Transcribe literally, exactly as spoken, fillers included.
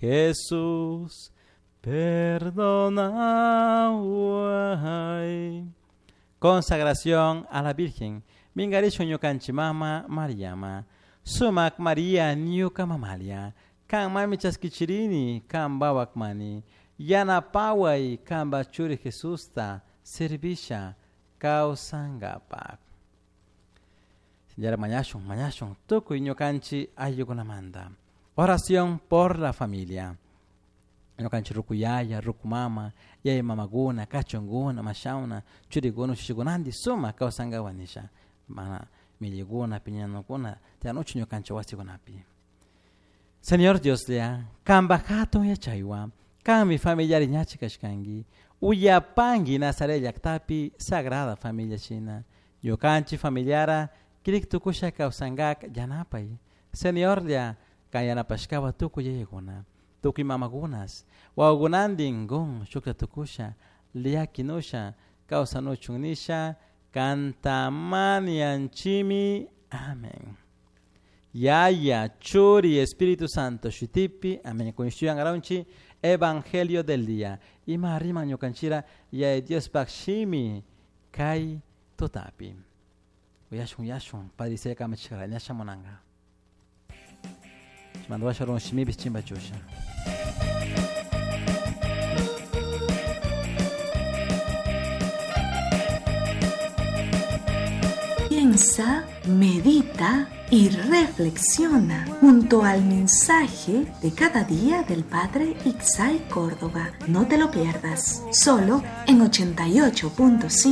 Jesús, perdona. Consagración a la Virgen. Mingarishun ñukanchik mama Mariama. Sumak Maria ñuka mamalia. Kan mami chaskichirini, kan bawakmani. Yanapaway kanpa churi Jesusta servisha kawsankapak. Señora mañashun, mañashun, tukuy ñukanchik ayllukunamanta. Oración por la familia. Ñukanchik ruku yaya, ruku mama, yaya mamakuna, kachunkuna, mashawna, churikuna, ushushikuna sumak kawsankapak nisha. Mana millikuna, piñanukuna, tiyanuchu ñukanchik wasikunapi. Señor Dios lea, kanpa hatun yachaywan, kanmi familiari ñachi kashkanki, uyapanki Nazaret llaktapi Sagrada Familia shina, ñukanchik familiara kirik tukusha kawsankak yanapay. Señor lea, kan yanapashkawa tukuy yayakuna, tukuy mamakunas, wawakunantin kun shukta tukusha, llakinusha, kawsanuchun nisha, kantamanianchimi. Amén. Yaya, Churi, Espíritu Santo, shutipi, amén. Kunishuyan araunchi, Evangelio del día. Ima riman ñukanchira, Yaya Dios shimi, kay tutapi. Uyashun, uyashun, Padre Isaiah kamachikara, ñasha munanga. Mandwasha run shimipis chimbachusha. Piensa, medita y reflexiona junto al mensaje de cada día del Padre Ixay Córdoba. No te lo pierdas, solo en ochenta y ocho punto cinco.